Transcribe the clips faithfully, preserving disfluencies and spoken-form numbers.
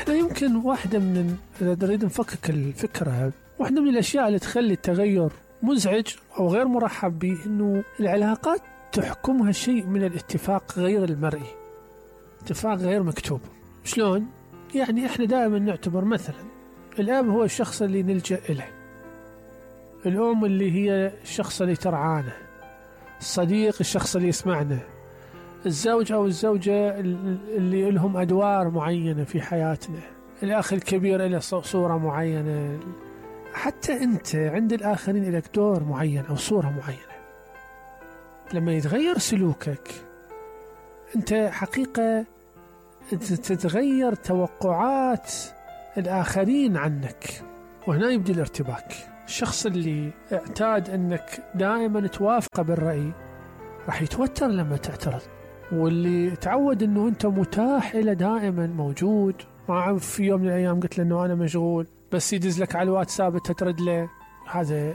احنا يمكن واحدة من إذا نريد نفكك الفكرة، واحدة من الأشياء اللي تخلي التغير مزعج أو غير مرحب به إنه العلاقات تحكمها شيء من الاتفاق غير المرئي، اتفاق غير مكتوب. شلون؟ يعني احنا دائما نعتبر مثلا الأب هو الشخص اللي نلجأ إليه، الأم اللي هي الشخص اللي ترعانا، الصديق الشخص اللي يسمعنا، الزوج أو الزوجة اللي لهم أدوار معينة في حياتنا، الأخ الكبير له صورة معينة، حتى أنت عند الآخرين لك دور معين أو صورة معينة. لما يتغير سلوكك أنت حقيقة تتغير توقعات الآخرين عنك، وهنا يبدأ الارتباك. الشخص اللي اعتاد أنك دائما توافقه بالرأي راح يتوتر لما تعترض، واللي تعود أنه أنت متاح إلى دائما موجود. ما في يوم من الأيام قلت له أنه أنا مشغول بس يدز لك على الواتساب تترد له، هذا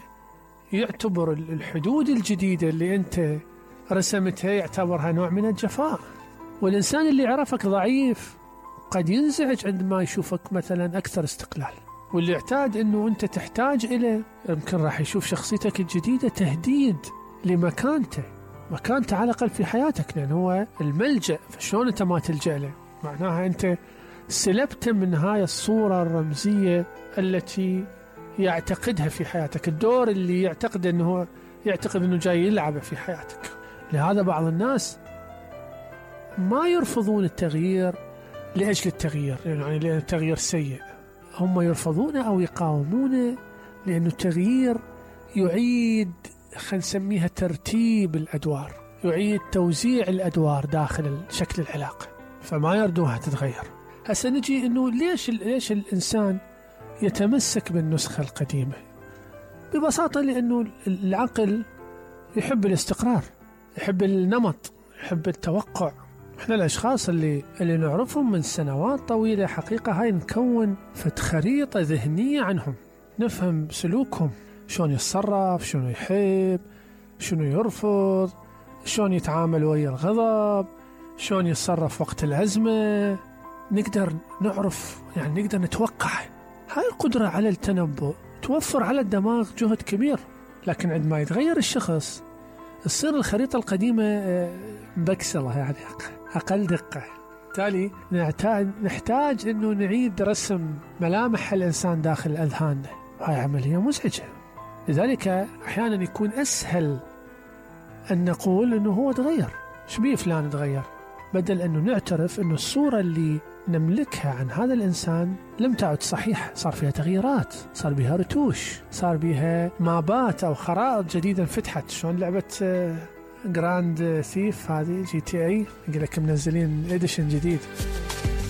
يعتبر الحدود الجديدة اللي أنت رسمتها يعتبرها نوع من الجفاء. والإنسان اللي عرفك ضعيف قد ينزعج عندما يشوفك مثلا أكثر استقلال، واللي اعتاد أنه أنت تحتاج إليه يمكن راح يشوف شخصيتك الجديدة تهديد لمكانته، مكانته على الأقل في حياتك، لأن هو الملجأ. فشون أنت ما تلجأ له؟ معناها أنت سلبت من هاي الصورة الرمزية التي يعتقدها في حياتك، الدور اللي يعتقد أنه يعتقد أنه جاي يلعبه في حياتك. لهذا بعض الناس ما يرفضون التغيير لأجل التغيير، يعني لأن التغيير سيء، هم يرفضونه أو يقاومونه لأن التغيير يعيد، خلينا نسميها ترتيب الأدوار، يعيد توزيع الأدوار داخل شكل العلاقة، فما يردوها تتغير. هسه نجي إنه ليش ليش الإنسان يتمسك بالنسخة القديمة؟ ببساطة لأنه العقل يحب الاستقرار، يحب النمط، يحب التوقع. احنا الأشخاص اللي اللي نعرفهم من سنوات طويلة حقيقة هاي نكون فت خريطة ذهنية عنهم، نفهم سلوكهم، شلون يتصرف، شنو يحب، شنو يرفض، شلون يتعامل ويا الغضب، شلون يتصرف وقت الأزمة. نقدر نعرف، يعني نقدر نتوقع. هاي القدرة على التنبؤ توفر على الدماغ جهد كبير، لكن عندما يتغير الشخص تصير الخريطة القديمة مبكسلة، يعني أقل دقة. بالتالي نحتاج أنه نعيد رسم ملامح الإنسان داخل أذهاننا. هاي عملية مزعجة، لذلك أحيانا يكون أسهل أن نقول أنه هو تغير، شبيه فلان تغير، بدل أنه نعترف أنه الصورة اللي نملكها عن هذا الإنسان لم تعد صحيحة، صار فيها تغييرات، صار بها رتوش، صار بها مابات أو خرائط جديدة انفتحت. شلون لعبة جراند ثيف هذه جي تي اي، يقول لك منزلين اديشن جديد.